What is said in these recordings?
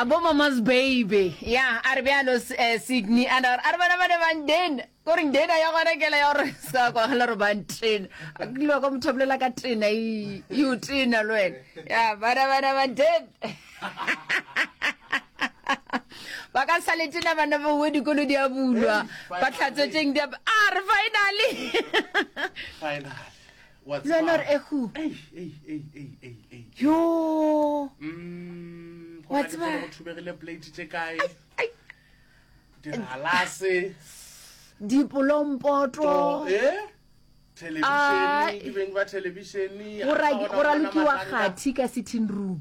A bo mama's baby. Ya, a re bjalo eh, Sydney a na a re bana ba ne ba ntena. Ko re ntena ya gona kela ya gore sa kwa gela re ba ntena. A kile wa ka motho a bolela ka tena e e o tena le wena. Ya, bana bana ba ntena. Ba ka sa le tena bana ba we dikolo di a bulwa. Ba tlhatswetseng di a a re finally. Finally. Le wena gore ehu. Yo. Mm, Wa tseba. go thubegile plate tše kae digalase Dipolompoto. eh thelebišene ke beng ba thelebišene Go ra- go ralokiwa kgathi ka sitting room.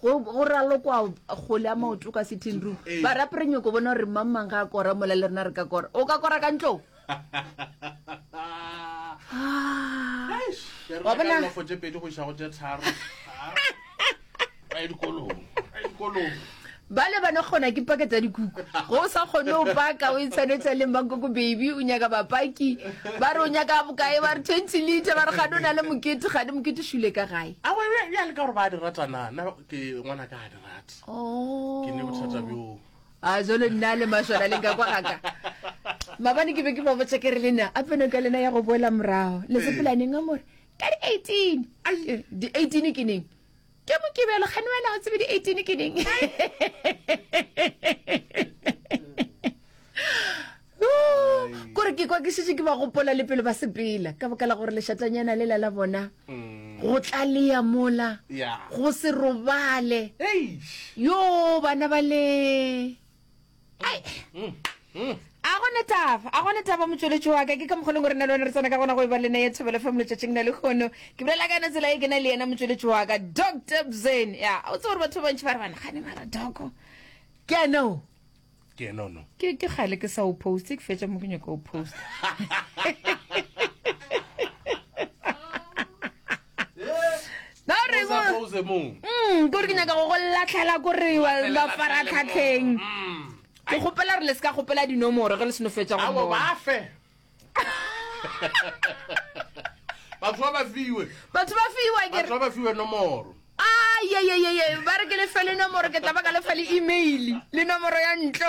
Go go ralokwa kgole ya maoto ka sitting room. Ee. Ba rape re nyoko bona gore mang mang ga a kora mola le rena re ka kora. O ka kora ka ntlong? Wa bona lofo tše pedi go iša go tše tharo. Ba ye dikolong. Ba ye dikolong. Ba le ba no kgona ke paka tša dikuku. Go o sa kgone o paka o itshwanetša le mankoko baby o nyaka bapaki ba re o nyaka bokae ba re 20 liter ba re gane o na le mokete gane mokete šule ka gae. A wa ya le ka gore ba di rata na nna ke ngwana ka a di rata. Oh. Ke ne bothata bjo. A jalo nna le mašwana le nka kwa gaka. Mabane ke be ke ba botša ke re le na a peno ka lena ya go boela morago. Le sepela neng a more? Ka di 18. Ai, di 18 ke neng? Ke mokibelo gane wena o tsebe di 18 ke neng? Kore ke kwa ke šetše ke ba gopola le pele ba sepela ka baka la gore lešatanyana lela la bona mm. go tlalea mola go se robale yo bana ba le ai mm, mm. a gone taba a gone taba motšweletši wa ka ke ka mokgoleng gore na le wena re tsena ka gona go e ba lena ya thobelo fm letšatšing la lekgono ke bolela ka yona tsela e ke na le yena motšweletši wa ka dr bzen ya o tsebe gore batho ba bantši ba re bana gane mara doko ke ano Ke ena ono. Ke ke kgale ke sa o poste, ke fetša mo ke nyaka o post. Na re O sa pose mo. Mm, kore ke nyaka go go latlhela kore mafaratlhatlheng. Mm. Ke kgopela gore le se ka kgopela dinomoro ge le seno fetša go Awo mmona. ba fe. Batho ba ba fiwe. Batho ba fiwa ke re. Batho ba ba fiwe nomoro. Ayeyeyeye, ba re ke le fe le nomoro, ke tla ba ka le fa le email le nomoro ya ntlo.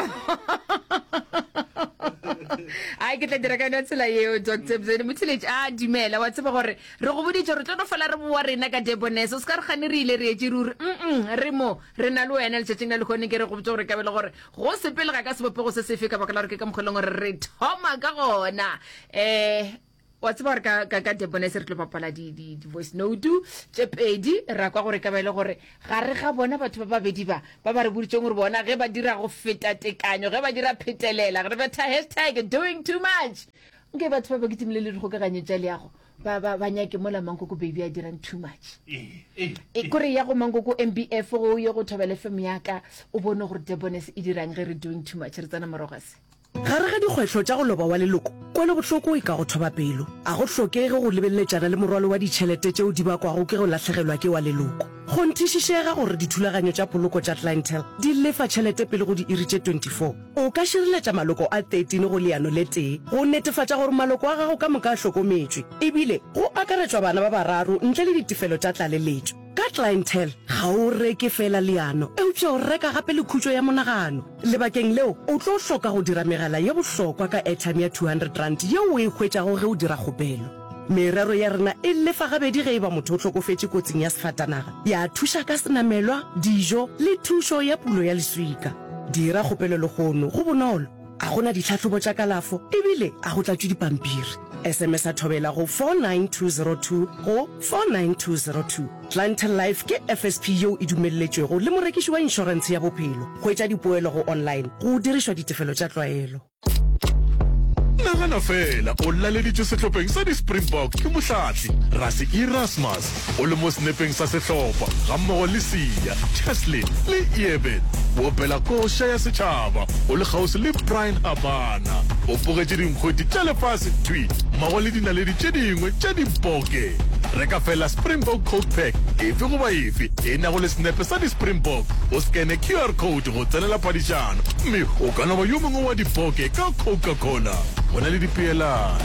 Ai ke tla dira ka yona tsela yeo Dr. Bzeni Mothiletši a dumela wa tseba gore re go boditše re tlo no fela re boa rena ka Debonair o se ka re gane re ile re etše ruri mm re mo re na le wena letšatšing la lehono ke re go botša gore ka be le gore go sepele ga ka sebopego se sefe ka baka la gore ke ka mokgwa e leng gore re thoma ka gona um Wa tseba gore ka, ka, ka Debonese re tlo bapala di, di, di voice note tše pedi, ra kwa gore e ka ba e le gore gare ga bona batho ba babedi ba, ba ba re boditšeng gore bona ge ba dira go feta tekanyo, ge ba dira phetelela, re betha hashtag doing too much. Nke batho ba ba kitimile le dikgokaganyo tša leago, ba, ba, ba nyake mola Mankoko Baby a dirang too much. E, kore ya go Mankoko MBF, go ye go Thobela FM ya ka, o bone gore Debonese e dirang ge re doing too much. Re tsena morago ga se. Gare ga dikgwehlo tša go loba wa leloko, kwelobohloko e ka go thoba pelo. A go hlokege go lebeleletšana le morwalo wa ditšhelete tšeo di bakwago ke go lahlegelwa ke wa leloko. Kgonthišišega gore dithulaganyo tša poloko tša Clientele di lefa tšhelete pele go diiri tše 24. O ka šireletša maloko a 13 go leano le tee go netefatša gore maloko a gago ka moka a hlokometšwe, ebile go akaretšwa bana ba bararo ntle le ditefelo tša tlaleletšo. Ka Clientele, ga o reke feela leano, eupša o reka gape le khutšo ya monagano. Lebakeng leo, o tlo hloka go dira megala ye bohlokwa ka airtime ya R200 yeo o e hwetšago ge o dira kgopelo. Merero ya rena e lefa gabedi ge e ba motho o hlokofetše kotsing ya sefatanaga, ya thuša ka senamelwa, dijo le thušo ya pulo ya leswika. Dira kgopelo lehono, go bonolo, a go na ditlhahlobo tša kalafo ebile a go tlatšwe dipampiri. SMS-a Thobela go 49202 go 49202. Clientele Life ke FSP yeo e dumelletšwego le morekiši wa inšorentshe ya bophelo. Hwetša dipoelo go online go dirišwa ditefelo tša tlwaelo. Nagana feela o laleditšwe sehlopheng sa di-Springbok ke mohlahli Rassie Erasmus, o le mo senepeng sa sehlopha gammogo le Siya, Cheslin le Eben. O opela koša ya setšhaba o le kgauswi le Bryan Habana. O bogetše dinkgwete tša lefase thwi mmogo le dinaledi tše dingwe tša diboke. Reka fela Springbok Coke Pack efe goba efe e nago le senepe sa di-Springbok, o skene QR code go tsenela phadišano mme o ka no ba yo mongwe wa diboke ka Coca-Cola. Go na le dipeelano.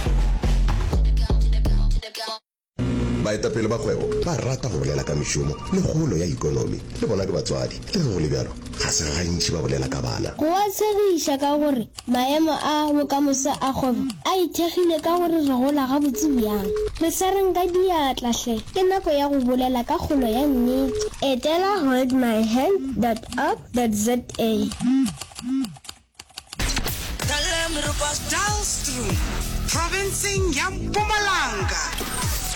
Baetapele ba kgwebo ba rata go bolela ka mešomo le kgolo ya ikonomi. Le bona ke batswadi. Le ge go le bjalo, ga se gantši ba bolela ka bana. Go a tshegiša ka gore maemo a bokamoso a kgwebo a ithekgile ka gore re gola gabotse bjang. Re swareng ka diatla hle, ke nako ya go bolela ka kgolo ya nnete. Etela holdmyhand dot org dot za. Dullstroom, profenseng ya Mpumalanga,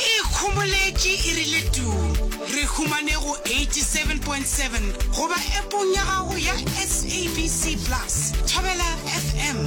e ikhomoletše e rile tuu. Re humane go 87.7 goba epong ya gago ya SABC Plus. Thobela FM,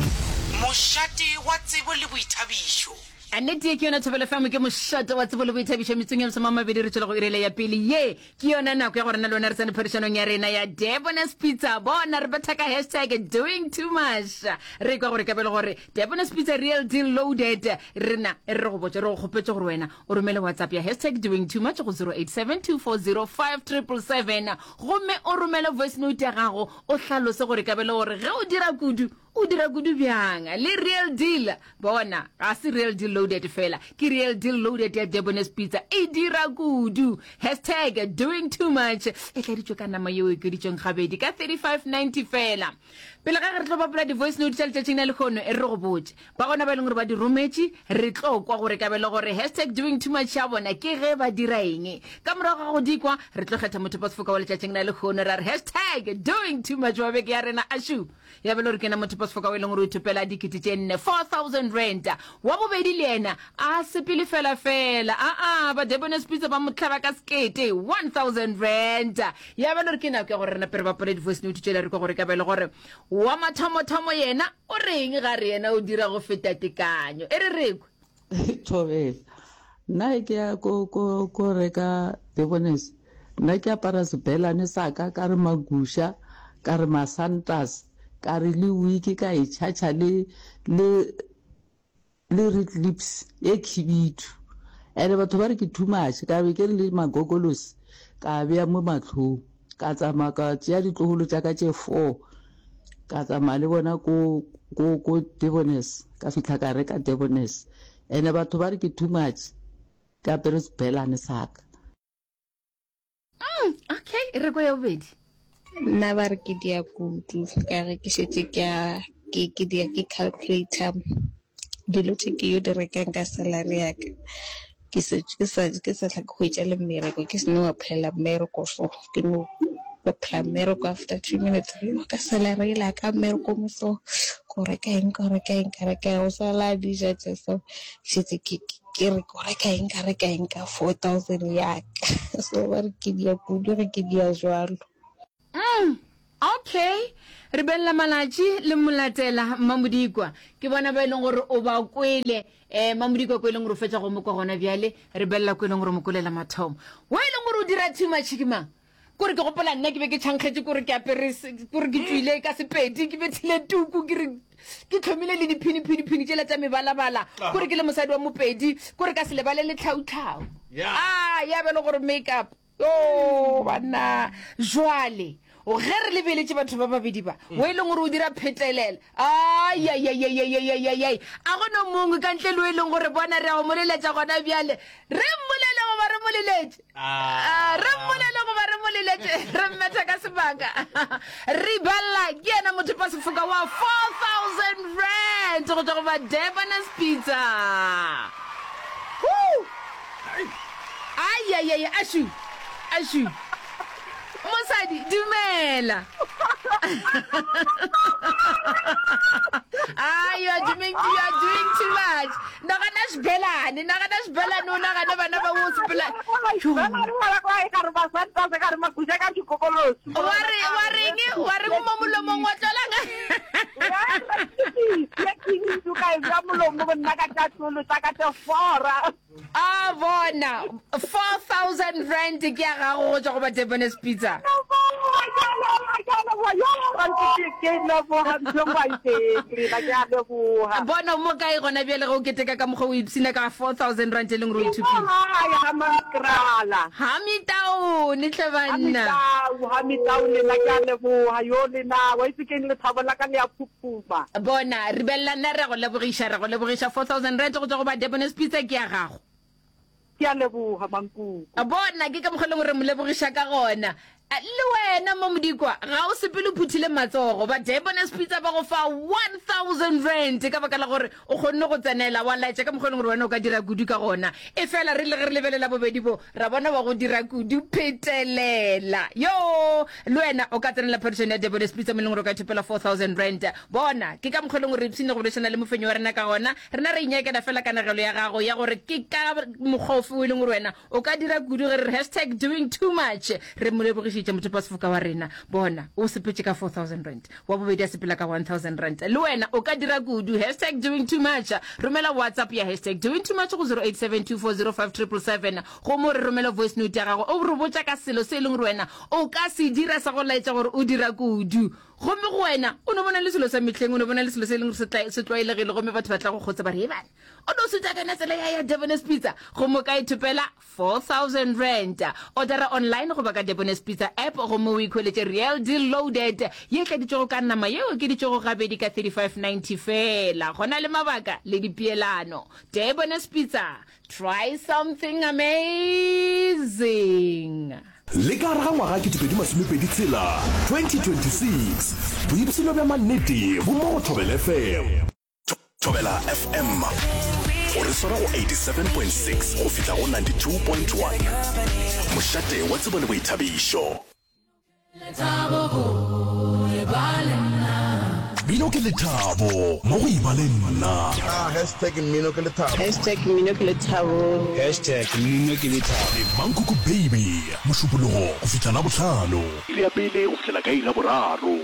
mošate wa tsebo le boithabišo. A nnete ye ke yona Thobela FM, ke mošate wa tsebo le boithabišo. Metsong ya masomamabedi re tšwela go irela ya pele. Ye Ke yona nako ya gore nna le wena re tsene phadišanong ya rena ya Debonair's Pizza. Bona re betha ka hashtag doing too much. Re kwa gore kabelo gore Debonair's Pizza real deal loaded. Rena re re go botša re go kgopetše gore wena o romele WhatsApp ya hashtag doing too much go 0872405777 gomme o romele voice note ya gago o hlalose gore kabelo gore ge o dira kudu O dira kudu bjang le real deal? Bona, ga se real deal loaded fela, ke real deal loaded ya Debonair's Pizza. E dira kudu. Hashtag doing too much. E tladitšwe ka nama yeo e okeditšweng gabedi ka 35.90 fela. Pele ga ge re tlo bapala di-voice note tša letšatšing la lehono, e re re go botše. Ba gona ba e leng gore ba di rometše, re tlo kwa gore kabelo gore hashtag doing too much ya bona ke ge ba dira eng. Ka morago ga go di kwa, re tlo kgetha mothopasefoka wa letšatšing la lehono ra re hashtag doing too much wa beke ya rena. Ašu! Ya bjalo re kena mothopasefoka o e leng gore o ithopela dikete tše nne, 4000 rand. Wa bobedi le yena a sepele fela fela, aa, ba Debonair's Pizza ba mo hlaba ka sekete, 1000 rand. Ya bjalo re ke nako ya gore re nape re bapale di-voice note tšela re kwa gore ka bjalo gore wa mathomothomo yena o reng ga re yena o dira go feta tekanyo. E re re kwe. Thobela. Nna ge ke ya ko ko ko reka Debonair's, nna ke apara sebelane sa ka, ka re maguša, ka re masantas, ka re le wiki ka e tšhatšha le le le red lips e khibidu. Ene batho ba re ke too much, ka be ke re le magogolosi ka bea mo mahlong. Ka tsamaya ka tšea ditlogolo tša ka tše four, ka tsamaya le bona ko ko ko Debonair's, ka fihla ka reka Debonair's. Ene batho ba re ke too much, ke apere sebelane sa ka. Mm, okay, e re kwa ya bobedi. Nna ba re ke dia kudu ka ge ke šetše ke a ke ke dia ke calculator dilo tše ke yo di rekang ka salary ya ka. Ke se ke sa ke sa hla ke hwetša le mmereko ke seno applyela mmereko so ke no apply mmereko after two minutes yo ka salary yela ka mmereko mo so ko reka eng ko reka eng ka reka eng go sala dija tše so šetse ke ke re ko reka eng ka reka eng ka 4000 ya ka so ba re ke dia kudu ge ke dia jwalo. Mm, okay. Re belela malatši le molatela Mmamodikwa. Ke bona ba e leng gore o ba kwele. Eh, Mmamodikwa ko e leng gore o fetša go mo kwa gona bjale. Re belela ko e leng gore o mo kwelela mathomo. Wa e leng gore o dira too much ke mang? Kore ke gopola nna ke be ke tšhankgetše kore ke apere kore ke tšwile ka Sepedi ke bethile tuku ke re ke tlhomile le diphini-phini-phini tšela tša mebalabala kore ke le mosadi wa Mopedi kore ka se lebale le tlhautlhau. Ah, ya be le gore make-up. Yoo, banna! Jwale, ge re lebeletše batho ba babedi ba, o e leng gore o dira phetelela, aiaiaiaiaiaiai, a go no mongwe ka ntle le o e leng gore bona re a go mo leletša gona bjale. Re mmolele goba re mo leletše? Ah, re mmolele goba re mo leletše? Re mmetha ka sebaka. Ribella ke yena mothopasefoka wa 4000 rand go tšwa go ba Debonair's Pizza. Woo! Ai-ai-ai, ašu, ašu. Mosadi, dumela. Ah, you are doing, you are doing too much. Nagana xibelani, nagana xibelani, o nagane bana ba o sepela. Wa re, wa reng, wa reng mo molomong wa tlola? A bona, 4000 rand ke ya gago go tšwa go ba Debonair's Pizza. Bona o mo kae gona bjale ge o keteka ka mokgwa o ipshina ka 4000 rand e leng gore o ithopile. Hamitaone hle banna. Bona, Ribella, nna re a go lebogiša, re a go lebogiša. 4000 rand go tšwa go ba Debonair's Pizza ke ya gago. Ke a leboga, Mankuku. Bona, ke ka mokgwa e leng gore re mo lebogiša ka gona. Le wena mo Modikwa, ga o sepele o phuthile matsogo. Ba Debonair's Pizza ba go fa R1000 ka baka la gore o kgonne go tsenela, wa laetša ka mokgwa e leng gore wena o ka dira kudu ka gona. Efela re ile ge re lebelela bobedi bo, ra bona wa go dira kudu phetelela. Yoo! Le wena o ka tsenela phadišano ya Debonair's Pizza mo e leng gore o ka ithopela R4000. Bona, ke ka mokgwa e leng gore re ipshine go boledišana le mofenyi wa rena ka gona. Rena re inyakela fela kanegelo ya gago ya gore ke ka mokgwa ofe o e leng gore wena o ka dira kudu ge re re hashtag doing too much. Re mo lebogišitše mothopasefoka wa rena. Bona, o sepetše ka R4000. Wa bobedi a sepela ka R1000. Le wena o ka dira kudu. Hashtag doing too much. Romela WhatsApp ya hashtag doing too much go 0872405777 gomme o re romele voice note ya gago o re botša ka selo se e leng gore wena o ka se dira sa go laetša gore o dira kudu. Gomme go wena, o no bona le selo sa mehleng, o no bona le selo se e leng gore se tla, se tlwaelegile, gomme batho ba tla go kgotsa ba re, Hebana, o no sutha ka yona tsela ya, ya Debonair's Pizza, gomme o ka ithopela R4000. Odara online goba ka Debonair's Pizza app gomme o ikhweletše Real Deal Loaded ye e tladitšwego ka nama ye e okeditšwego gabedi ka R35.90 feela. Go na le mabaka le dipeelano. Debonair's Pizza, try something amazing! Le ka gare ga ngwaga 2026, 2026, boipshino bja mannete bo mo go Thobela FM. Thobela FM, o re swara go 87.6 go fihla go 92.1. Mošate wa tsebo le boithabišo. Mmino ke lethabo mo go eba le nna. Hashtag mmino ke lethabo. Hashtag mmino ke lethabo. Hashtag mmino ke lethabo. Le Mankoko Baby, Mošupologo go fihla Labohlano. Iri ya pele go fihlela ka iri ya boraro.